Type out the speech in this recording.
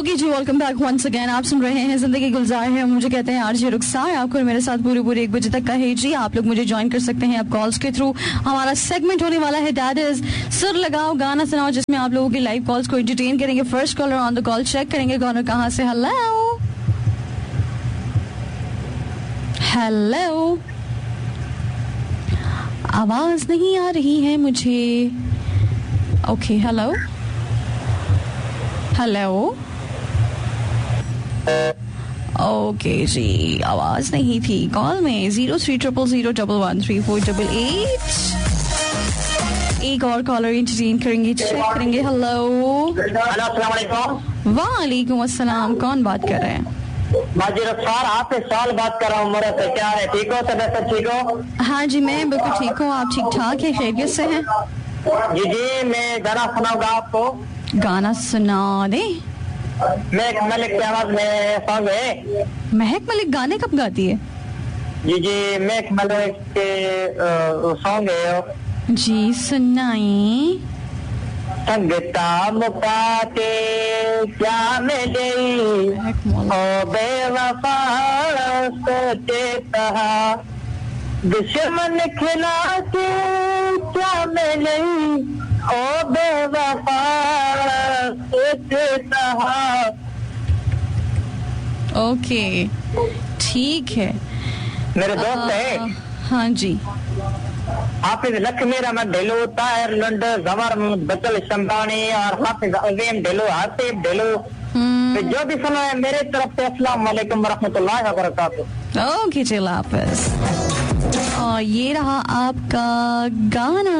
Okay जी, welcome back once again. आप सुन रहे हैं जिंदगी गुलजार है, मुझे कहते हैं आरजे रुखसार। आपको मेरे साथ पूरी पूरी 1 बजे तक का है जी। आप लोग मुझे ज्वाइन कर सकते हैं आप कॉल्स के थ्रू। हमारा सेगमेंट होने वाला है that is सुर लगाओ गाना सुनाओ, जिसमें आप लोगों की लाइव कॉल्स को एंटरटेन करेंगे। First caller on the call, check करेंगे कॉलर कहाँ से। हेलो हेलो, आवाज नहीं आ रही है मुझे। ओके, हेलो हेलो, ओके जी, आवाज नहीं थी कॉल में। 0300 0013488। एक और कॉलर एंटरटेन करेंगे, चेक करेंगे। हेलो, वालेकुम अस्सलाम, कौन बात कर रहे हैं? सर आपसे साल बात कर रहा हूँ। क्या है, ठीक हो? तबीयत ठीक हो? हाँ जी, मैं बिल्कुल ठीक हूँ। आप ठीक ठाक है, खैरियत से हैं? जी जी, मैं गाना सुनाऊंगा आपको। गाना सुना दे। महक मलिक की आवाज में सॉन्ग है। महक मलिक गाने कब गाती है? जी जी, महक मलिक के सॉन्ग है जी, सुनाई। संगता मुकाते क्या मिले ओ बेवफा सोचे कहा, दुश्मन खिला के क्या मिले ओ बेवफा सोचे कहा। ओके, ठीक है, मेरे दोस्त है। हाँ जी, हाफिज लखमीर अहमद ढिल्लो, ताहिर लुंड, जवर बचल शंबानी और हाफिज अजीम ढिल्लो, आसिफ ढिल्लो, जो भी सुना है मेरे तरफ से अस्सलाम वालेकुम रहमतुल्लाहि व बरकातहू। ओके जी, हाफिज। और ये रहा आपका गाना।